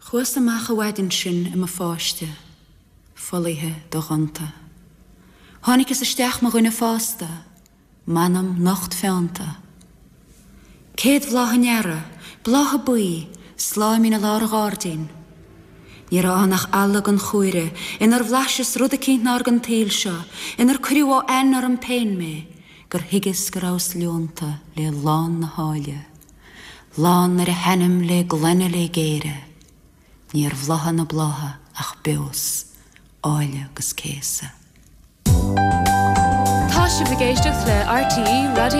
Chuas amach an mhaidin sin i mo pháiste, folaithe dodhonta. Tháinigeas isteach mo dhuine fásta, m'anam nocht feannta. Céad bhláth an earraigh, blátha buí, sláimín i lár an ghairdín. Ní raibh ann ach eala den chumhaire, inar bhlaiseas rud eicínt nár den tsaol seo, inar cuireadh ó ainn orm féin mé, gur thuigeas go rabhas leonta le lán na háille, lán ar a hainm le glaine le géire. Níor bhláthaigh na blátha ach beos, áille 'gus céasadh. Tá sibh ag éisteacht le RTÉ Raidió.